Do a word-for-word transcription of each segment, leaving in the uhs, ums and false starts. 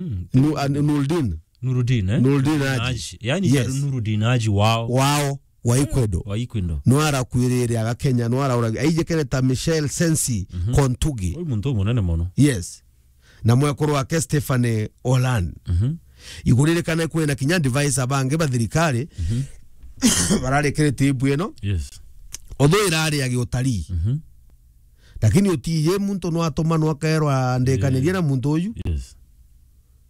Mm. Nu-, a, Nurdin. Nurdin, eh? Nurdin Haji. Haji. Yani, yes. Nurdin Haji wao. Wao, wa Ikwedo. Wa Ikwedo. Nwarakwirire aga Kenya, nwarauragi. Aijikene ta Michelle Sensi, mhm, Kontugi. Uyu muntu umunene mono. Yes. Na mwekuru wake Stephanie Olan. Mhm. Iguririkane kwina kinya advisor bangi ba thirikari, mhm, bararikirite ibu ino. Yes. Although irari ya giutarii. Mhm. Lakini utiiji muntu nwatuma nwakerwa ndikanirie, yeah, na muntu uyu. Yes.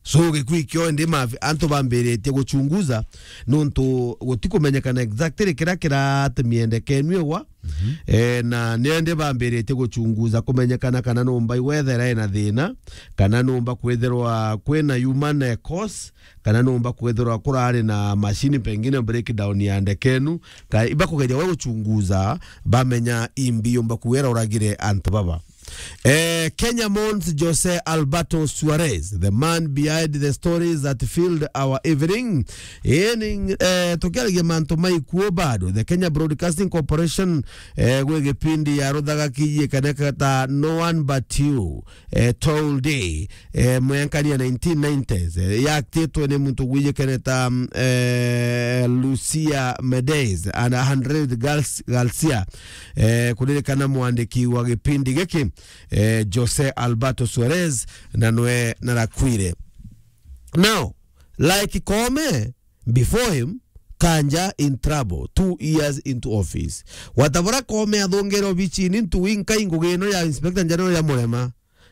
So, gikui kio indi mafi-, antu bambiritie guchunguza, nuntu gutikumenyekana exactly kiria kiratumie ndeke ino igwa. Mhm. Eh, na ni indi bambiritie guchunguza kumenyekana kana numba iwethera ina thina, kana numba kwithirwa kwina human, eh, cause, kana numba kwithirwa kurari na machine pengine breakdown ya ndeke inu, ka ibakugeria we guchunguza, bamenya imbi yumba kuwira uragire antu baba. Eh, Kenya mourns Jose Alberto Suarez, the man behind the stories that filled our evening. Eni, eh, tukiaragia mantu maikuo bado, the Kenya Broadcasting Corporation, eh, gwi gipindi ya ruthaga kijikaneka ta No One But You, eh, Told Day, eh, mwenkani ya nineteen nineties, eh, yaktitwe ni muntu gwijikene ta, mm, eh, Lucia Medeiros and Andres Gal-, Garcia, eh, kuririkana mwandiki wa gipindi giki, eh, Jose Alberto Suarez, na nwe narakwire. Now, like Koome before him, Kanja in trouble, two years into office. Watabora Koome athongere obichini ntu inkai ngugi ino ya Inspector General ya Murema,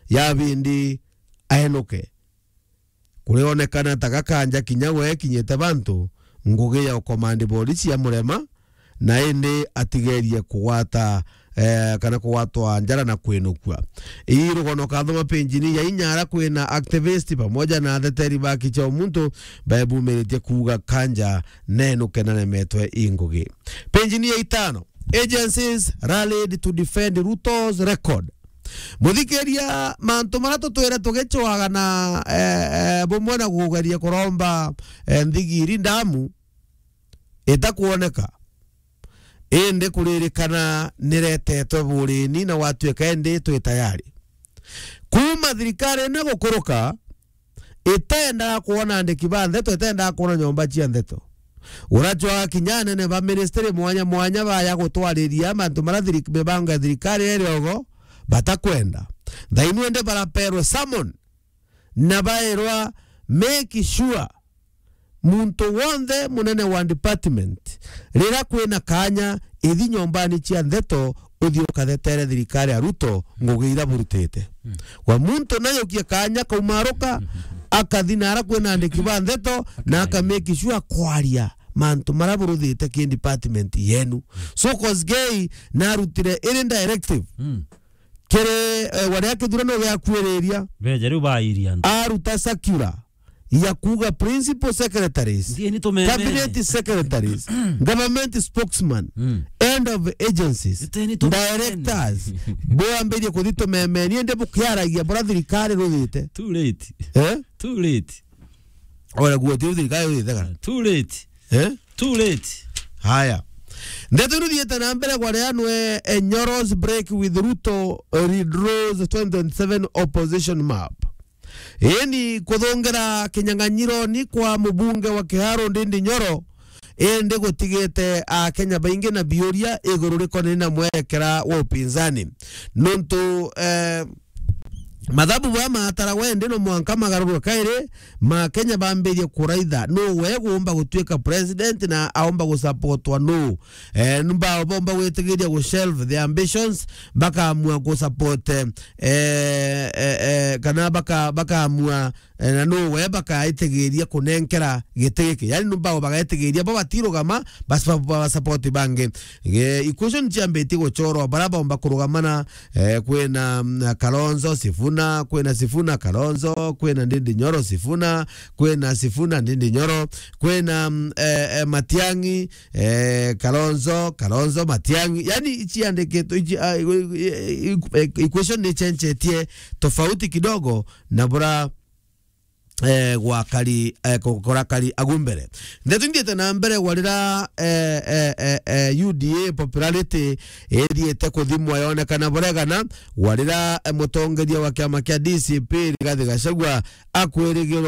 ya bindi aenuke. Kurionekana ta Gakanja kinya we kinyite bantu ngugi ya ukomandi borisi ya Murema, na indi atigerie kugwata, eh, kana kugwatwa njara na kwinukua. Ii rugono kathoma penjini ya inya ara kwina activist pamoja na atheteri ba kicha umuntu baebumiritie kuuga Kanja nenuke na nemetwe i ngugi. Penjini ya itano, agencies rallied to defend Ruto's record. Muthikiria, mantu maria tutwire tugicwaga na, eh, eh, bumwe na kugeria kuromba, eh, nthigiri ndamu itakuoneka, indi kuririkana niretetwe burini na gwatuika indi twi tayari. Kuuma thirikari ino gukuruka, itendaga kwona andiki ba ndeto, itendaga kwona nyomba cia ndeto. Uracwaga kinya anene ba ministry mwanya mwanya baya gutwariria mantu maria thiri-, mibango ya thirikari iri ogo batakwenda. Thainu indi baraperwe summon na baerwa make sure muntu wonthe munene wa department, rira kwina kanya, ithi nyombani cia ndeto, uthii ukathetere thirikari ya Ruto ngugi ira burutite. Mm. Wa muntu nayokie kanya kaumaruka, akathi nara kwina andiki ba ndeto, na aka make sure kwaria mantu maria buruthite ki department yenu. Mm. So Kosgei narutire iri directive. Mm. Kiri, eh, waria kithurano giakuiriria. Beja riu bairia antu. Aruta circular ya kuuga principal secretaries, ndieni tumemene, cabinet secretaries, government spokesman, mm, head of agencies, iteni tumemene, directors, bwambirie kuthi tumemeni, indi bukiaragia bura thirikari ruthite. Too late. Eh? Too late. Ora guo ti thirikari ruthite kana? Too late. Eh? Too late. Haya. Ndeto ino thiete na mbere kwa ria nwe, eh, Nyoro's break with Ruto, eh, redraws twenty twenty-seven opposition map. Eni kuthongera kinyang'anyironi kwa mubunge wa Kiharu Ndindi Nyoro, indi gutigite Akenya baingi na biuria iguru rikonene na mwerekera wa upinzani. Nontu, eh, mathabu baya mataragwa indi no mwanka magarurwe kairi, ma Kenya bambirie kuraitha nu we gumba gutuika president na aumba gusupportwa nu. Eh, nu bao bomba gwitigiria gu shelve their ambitions, bakaamua gu support, eh, eh, eh, kana baka-, bakaamua, eh, na nu we bakaitigiria kunenkera giti giki. Yani nu bao bagaitigiria, bo batirugama, bas ba, ba support bangi. Eh, equation ciambitie guchorwa, bara bomba kurugama na, eh, kwina, mm, Kalonzo, Sifuna, kwina Sifuna, Kalonzo, kwina Ndindi Nyoro, Sifuna, kwina Sifuna, Ndindi Nyoro, kwina, mm, eh, eh, Matiang'i, eh, Kalonzo, Kalonzo, Matiang'i. Yani, iciandikitwe, ici, ah, i-, i-, i-, equation ni ichenjetie tofauti kidogo na bura eh, gwakari, eh, ku-, kurakari agu mbere. Ndeto inthiite na mbere gwa rira, eh, eh, eh, eh, U D A popularity ithiite kuthimwa yonekana buregana, gwa rira, eh, mutongeria wa kiama kia D C P Rigathi Gachagua akwirigirwa